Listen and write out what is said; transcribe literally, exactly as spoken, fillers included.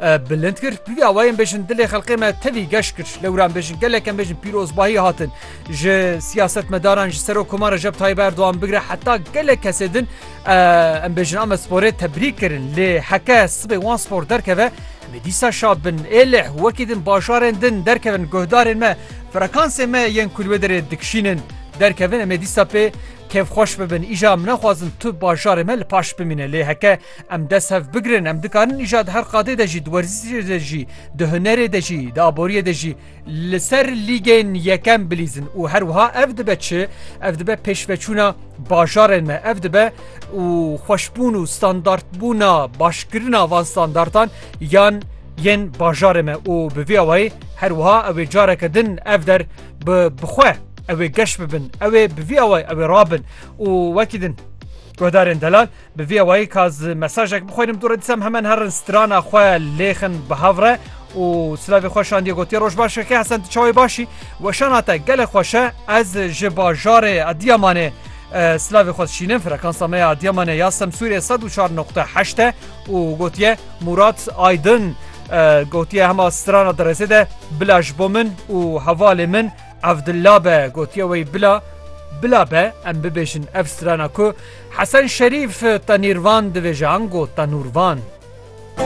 e, bilind kir. Bi vî awayê em bêjin dilê xelkê me tevî geş kir. Lewra em bêjin gelek em bêjin pîrozbahî hatin. Ji siyasetmedaran, ji Serokkomar Recep Tayyip Erdoğan bigire heta gelek kesê din, e, em bêjin Amedsporê tebrîk kirin. Lê heke sibê Wanspor derkeve, em ê dîsa şa bin. Êlih wekî din bajarên din derkevin guhdarên me, frekansê me yên ku li wê derê dikişînin derkevin, em ê dîsa pê kêfxweş bibin. Îja em naxwazin tu bajarê me li paş bimîne. Lê heke em dest hev bigrin, em dikarin îja di her qadê de jî, di werzişê de jî, di hunerê de jî, di aboriyê de jî li ser lîgên yekem bilîzin. Û her wiha ev dibe çi? Ev dibe pêşveçûna bajarên me. Ev dibe û xweşbûn û standartbûna, başkirina van standartan yan yên bajarê me. Û bi vî awayî her wiha ew ê careke din ev der bi, bi xwe ew ê geş bibin. Ew ê bi vî awayî ew ê rabin. Û wekî din guhdarên delal, bi vî awayî ka ez mesajek bixwînim, dû re dîsa em hemen herin strana xwe lêxin bi hev re û silavê xwe şandiye gotiye, "Roj baş keke Hesen, tu çawa yî, baş î? Weşana te gelek xweş e. Ez ji bajarê Adiyamanê, e, silavê xwe dişînim. Frekansa me ya Adiyamanê ya Semsûrê sed û çar nokte heşt e." Û gotiye, Murat Aydın, e, gotiye, hema strana di rêzê de, "Bila ji bo min û hevalê min Evdilla be." Gotiye wey, "Bila, bila be." Em bibêjin ev strana ku Hesen Şerîf Tenîrvan divêje, ango Tenûrvan.